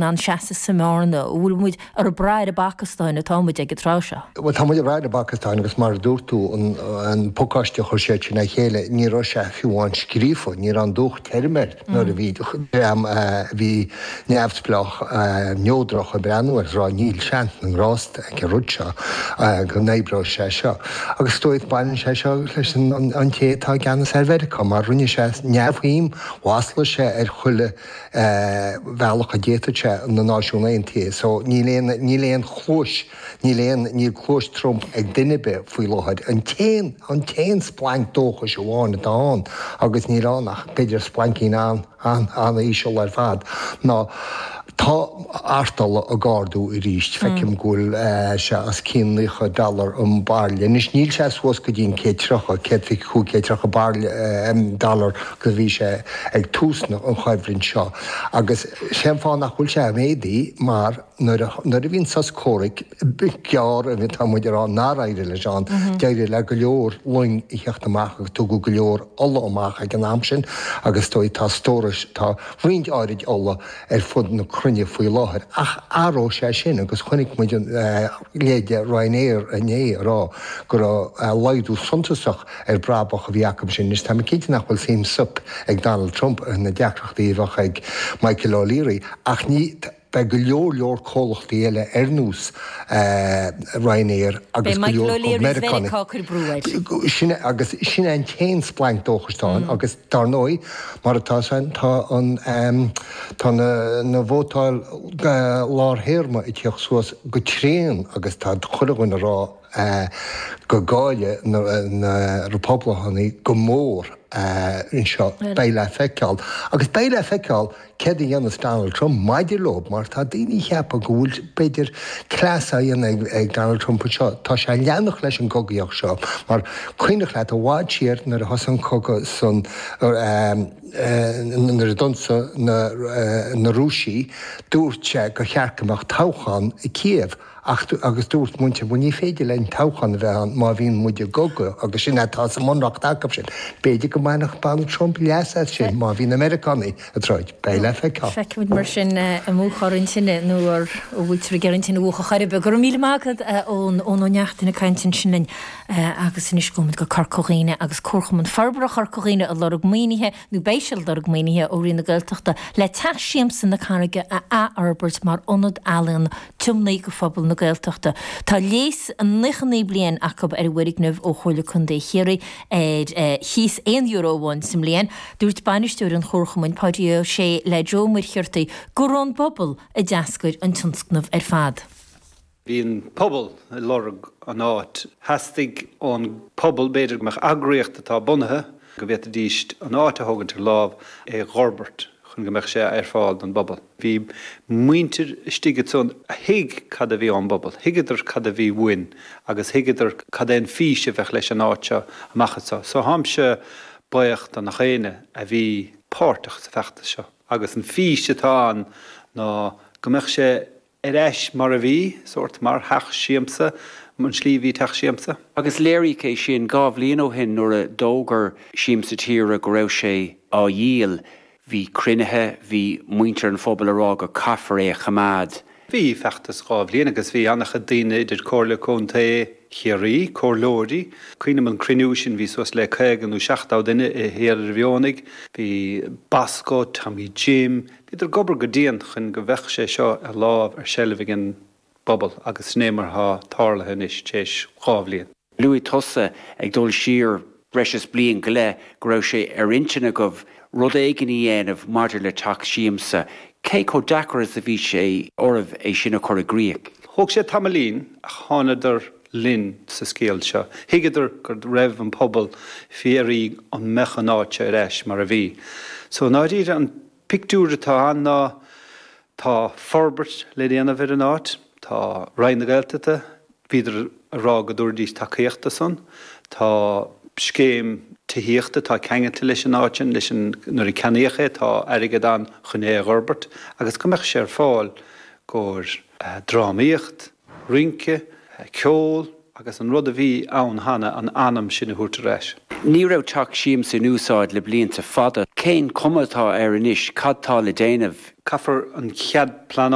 ann seasamh sa mbearna? An bhfuil muid ar brath ar an bPacastáin atá muid ag an tráth seo? Bhuel, tá muid ag brath ar an bPacastáin agus mar a dúirt tú, an pacáiste a chuir siad sin le chéile, ní raibh sé fiú amháin scríofa, ní raibh an dúch tirim air nuair a bhí dream a bhí neamhspleách, neodrach ag breathnú air is ag rá níl seans na ngrást ag an rud seo go n-oibreoidh sé seo. Agus is dóigh baineann sé seo leis an té atá i gceannas ar Mheiriceá mar rinne sé neamhshuim, mhaslaigh sé ar chuile bhealach a d'fhéadfadh sé na Náisiúin Aontaithe so níl aon, níl aon chluais, níl aon, níl cluais Trump ag duine ar bith faoi láthair. An t-aon, an t-aon splanc dóchais amháin atá ann, agus níl ann ach b'fhéidir splaincín an-an-íseal ar fad, ná tá artola ag ardú arís. Feicim go bhfuil sé os cionn 90 dollar an bairille. Anois níl sé suas go dtí an 130, 125, 130 bairille, dollar go bhí sé ag tús an choimhlint seo agus sé an fáth nach bhfuil sé ag méadú mar nuair a nuair a bhí an sos comhraic gearr atá muid a rá nár éirigh leis ann d'éirigh le go leor loing a theacht amach agus tugadh go leor ola amach ag an am sin agus is dóigh tá stórais tá roinnt áirid ola ar fud na cruinne faoi láthair ach athróidh sé sin agus chonaic muid an leithéide Ryanair inné ag rá go raibh laghdú suntasach ar brabach a bhí acu sin. Anois tá mé cinnte nach bhfuil suim soip ag Donald Trump ar na deacrachtaí a bheadh ag Michael O'Leary ach ní beidh go leor leor comhlachtaí eile ar nós Ryanair agus Beidh go Michael leor O'Leary Meiriceánaigh. Mheiriceá ag cur brú air. Sin é agus sin é an t-aon splanc dóchais atá ann agus dar ndóigh mar atá san tá an tá na na vótáil lár théarma ag tíocht suas go tréan agus tá chuile dhuine ag rá go gcaillfidh na Republicánaigh go mór anseo. Beidh le feiceáil. Agus beidh le feiceáil céard a dhéanfas Donald Trump maidir leo mar tá daoine ag ceapadh go bhfuil, b'fhéidir, cleas á dhéanamh ag Donald Trump anseo. Tá sé ag leanacht leis an gcogaíocht seo mar cuimhnigh leat i bhfad siar nuair a thosaigh an cogadh san nuair a d'ionsaigh na Rúisigh dúirt sé gur cheart go mbeadh toghchán i Kiev. Ach, agus dúirt muintir, bhuel ní féidir linn toghchán a bheith ann má bhíonn muid i gcogadh, agus sin atá sa mbunreacht acu sin. B'fhéidir go mbainfeadh Donald Trump leas as sin má bhí na Meiriceánaigh ag troid. Beidh le feiceáil. Feicfimid mar sin an múchfar an tine nó an bhfuiltear ag iarraidh an tine a mhúchadh chor ar bith. Go raibh míle maith agat, a Eoin, Eoin Ó Neachtain ag caint ansin linn. Agus anois gabhfaimid go Corca Dhuibhne agus Comharchumann Forbartha Chorca Dhuibhne ag lorg maoinithe nó beidh siad ag lorg maoinithe ó Roinn na Gaeltachta le Teach Siamsa na Carraige a athfhorbairt mar ionad ealaíon tiomnaithe do phobal na Gaeltachta. Tá léas 99 bliain acu ar an bhfoirgneamh ó Chomhairle Contae Chiarraí ar chíos €1 amháin sa mbliain. Dúirt bainisteoir an Chomharchumainn, Páidí Ó Sé le Joe Ó Muircheartaigh gur ón bpobal a d'eascair an tionscnamh ar fad. Bhí an pobal ag lorg an áit. Theastaigh ón pobal, b'fhéidir, go mbeadh eagraíocht atá bunaithe, go bhféadfaidís an áit a thógaint ar lámh, é a dh'fhorbairt chun go mbeadh sé ar fáil don bpobal. Bhí muintir istigh ansan a thuig cad a bhí ón bpobal, thuigeadar cad a bhí uainn agus thuigeadar cad é an fís a bheadh leis an áit seo amach anso. So táimse buíoch do nach éinne a bhí páirteach sa bhfeachtas seo agus an fís atá ann ná go mbeadh sé ar ais mar a bhí, sórt mar theach siamsa, an tslí a bhí teach siamsa. Agus léiríodh é sin 2 bhliain ó shin nuair a d'fhógair Siamsa Tíre go raibh sé á dhíol. Bhí cruinnithe, bhí muintir an phobail ag rá go caithfear é a choimeád. Bhí feachtas 2 bhliain agus bhí an-chuid daoine idir Comhairle Contae Chiarraí, comhairleoirí, cuimhním an cruinniú sin bhí suas le 50 nó 70 duine i Halla Mhionaigh, bhí Bosco, Tommy Jim, Bhíodar ag obair go dian chun go bheadh sé seo ar lámh ar seilbh ag an bpobal agus sin é mar atá tarlaithe anois tar éis 2 bhliain. Luaigh tusa, ag dul siar breis is bliain go leith, go raibh sé ar intinn agaibh rud éigin a dhéanamh maidir le teach siamsa. Cé chomh deacair is a bhí sé oraibh é sin a chur i gcrích? Thóg sé tamaillín ach thánadar linn sa scéal seo. Thuigeadar go raibh an pobal ag iarraidh an mbeadh an áit seo ar ais mar a bhí. So i ndáiríre an pictiúr atá ann ná tá forbairt le déanamh ar an áit, tá Roinn na Gaeltachta, bhíodar ag rá go dtabharfaidís tacaíocht do san, tá scéim tithíochta atá ceangailte leis an áit sin, leis an, nuair a ceannaíodh é tá airgead ann chun é a dh'fhorbairt agus go mbeadh sé ar fáil gcomhair drámaíocht, rince, ceol. Agus an rud a bhí ann cheana, an anam sin a thabhairt ar ais. Ní raibh Teach Siamsa in úsáid le blianta fada. Cén chuma atá air anois? Cad tá le déanamh? Caithfear an chead pleanála.